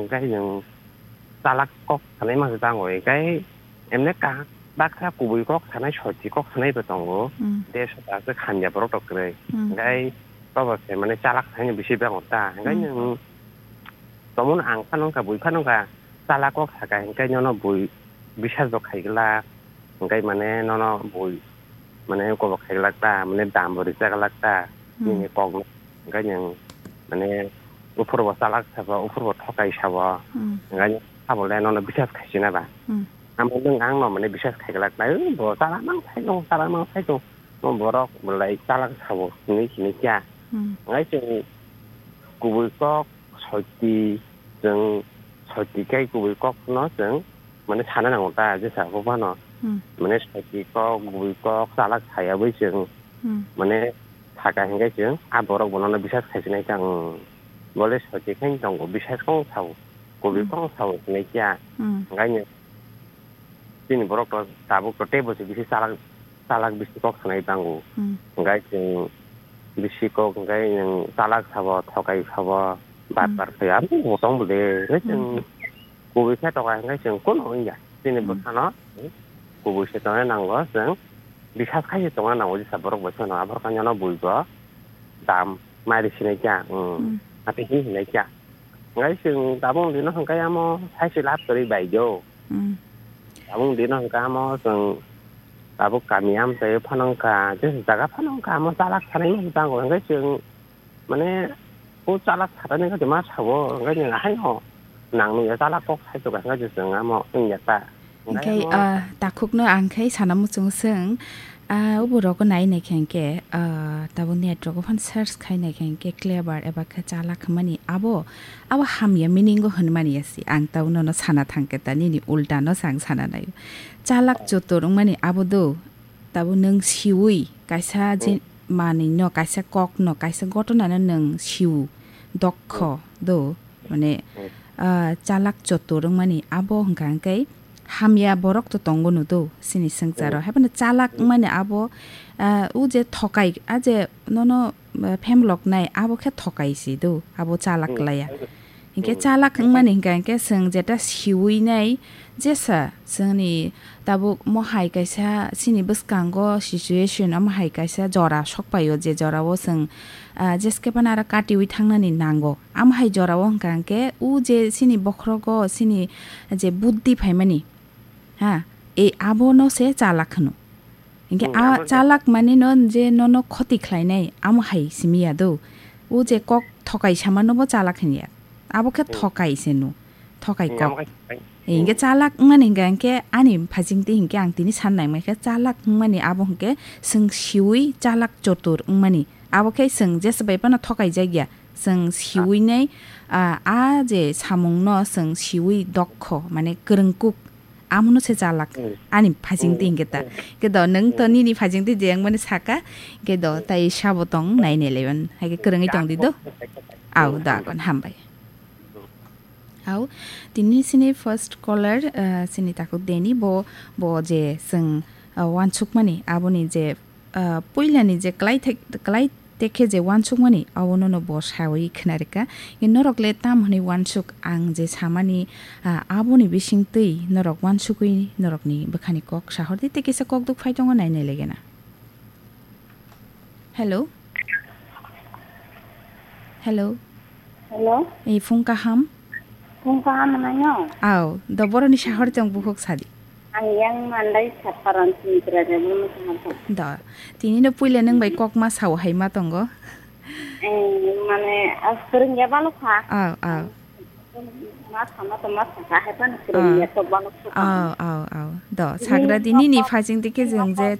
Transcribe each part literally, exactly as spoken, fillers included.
Hingke chwng chalak kok sanai masa tango, hingke emne ka-, baksa kubui kok sanai, soti kok sanai bo tongo. Hmm. Desh ta se hamya borok rok kwrwi. Hmm. Hingke tobo se mane chalak sanai bisi bango ta. Hingke Hmm. chwng tomon ang phano wngkha, bui phano wngkha, chalak kok saka hingke nono bui bisas bo khaiglak. Hingke mane nono bui mane uko bo khaiglak ta, mane dam bo rijak glak ta, Hmm. nini kok no. Hingke nwng mane uphur bo chalak sabo, uphur bo thokai sabo. Hmm. Hingke sabo le nono bisas khaisina ba. Hmm. Amo nwng ang no mane bisas khaiglak ta, "Ui, bo chalak mang sai tong, chalak mang sai tong." Mo borok bo lai chalak sabo, hinwi sini kya. Hmm. Hingke chwng kubui kok, soti, chwng soti kai kubui kok no chwng mane sana nango ta, jesa bo phano. Hmm. Mane soti kok, kubui kok, chalak saya bai chwng. Hmm. Mane thaka hingke chwng, a borok bono no bisas khaisinai ta, ang bole soti khai tongo, bisas kong sao, kubui Hmm. kong sao hinwi kya. Hmm. Hingke chini borok to tabuk to teibo se bisi chalak, chalak bisi kok sanai tango. Hmm. Hingke chwng bisi kok hingke nwng chalak sabo, thokai sabo, bar Hmm. bar khe aro bo tong bo de. Hingke chwng Hmm. kubui khe toka hingke chwng kono wngya. Chini Hmm. bwsano kubui se tongna nango chwng. Bisas khai se tongna nango jesa borok bai phano. Aborok kanya no bui bo dam mari sinai kya. Hmm. Hmm. Ati hin hinai kya. Ngai chwng tabuk dino hwnkhe amo sai se lab kwrwi bai do. Hmm. Tabuk dino hwnkhe amo chwng tabuk kami amchai phano wngkha, je jaga phano wngkha, amo chalak sanai no tango, hwnkhe chwng mane o chalak sanani khe ma sao, hwnkhe chwng haino nang nungya chalak kok sai tongkha, hwnkhe chwng amo wngya ta. Hingke, Ngai amo ah, takhukno ang khai sana muchung swng, ah, o borok nai nai khe hingke, ah, tabuk net rok phano search khai nai khe hingke clever eba khe chalak hwnmani abo, abo hamya meaning o hwnmani ya si. Ang tabuk nono sana thang khe ta nini ulta no se ang sana nai. Chalak chotor wngmani abo do, tabuk nwng siwi kaisa je Hmm. manwi no, kaisa kok no, kaisa gotona no nwng siwu, dokho Hmm. do. Mane, Hmm. ah, chalak chotor wngmani abo hwnkha hwnkhe hamya borok to tongo no do, chini swngcharo. Hmm. Haibano chalak Hmm. wngmani abo, ah, o je thokai, a je nono, ah, phemloknai abo khe thokai se do, abo chalak Hmm. laya. Hinkhe Hmm. chalak wngmani hwnkha hwnkhe chwng jeta siwi nai jesa chwngni tabuk mohai kaisa chini bwskango situation o mohai kaisa jora sokpaio, je jorao chwng, ah, jeske phano aro katiwi thangnani nango. Amo hai jorao hwnkha hwnkhe, o je chini bokhorogo chini je buddhi phaimani, ha, e abono se chalak hwno. Hinkhe Hmm, a abo se. Chalak mani no je nono khoti khlainai, amo hai simi ya do. O je kok thokai samano bo chalak hinya. Abo khe Hmm. Thokai se no. Thokai Hmm, kok. Amo khe thokai. E, hinkhe Hmm. Chalak wngmani hinkhe, hinkhe ani phajingti hinkhe ang tini san nai mankhe chalak wngmani abo hinkhe chwng siwi chalak chotur wngmani. Abo khe chwng jesa bai phano thokai jakya. Chwng siwi nai, ah, a je samung no chwng siwi dokho, mane kwrwngkuk, amono se chalak. Hmm. Ani phajingti Hmm. Hinkhe ta. Hmm. Hinkhe do nwng to Hmm. Nini phajingti je wngmani saka, hinkhe do Hmm. Tai sabo tong nai nai laiban. Haikhe kwrwngwi tong di do. Hmm. Au, da kon hambai. Hmm. Au, tini sini first caller, ah, sini takhuk deni bo, bo je chwng, ah, wansukmani aboni je ah, puilani je klai thek-, klai tekhe je wansukmani, abono no bo sawi khna rwkha. Norok le tam hwnwi wansuk ang je samani, ah, aboni bisingtwi norok wansugwi norokni bwkhani kok sahordi tei kisa kok duk phai tongo nai nai legena. Hello? Hello? Hello? Ei, phung kaham? Phung kaham hwnwi no? Au, do boroni sahor chong bukhuk sadi. Ang yang mandai saparan sini kira jabu mo kaham. Do, tini no puila nang bai kok ma sao hai ma tongo. Eh, mane, as kering ya balo kha. Au, au. Ma sama to ma sa hai pan kering ya to balo kha. Au, au, au. Do, sagra dini ni phajing dike jeng je.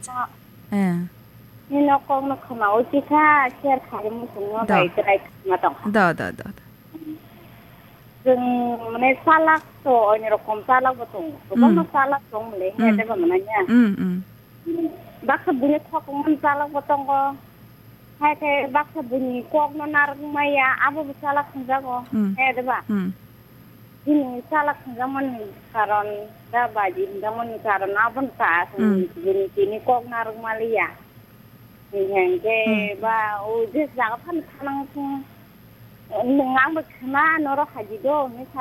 Eh. Ni nok kok no khama o chikha, share khai mo sung no bai try ma tong. Do, do, do, do. Chwng mane chalak to, onyo rokom chalak bo tongo. Kwbangma chalak tong mole, he tebo mane ya. Mm, mm. Baksa buini khok mani chalak bo tongo. Hai khe baksa buini kok no narwk maya, abo bo chalak hwnjago. Mm. He deba? Mm. Bini chalak hwnjakmani karon, da baji hwnjakmani karon, aboni ta bini tini kok narwk maliya. Hinkhe ba o je jaga phano thanang thung. Nwng ang bo khna norok haji do, hinwi sa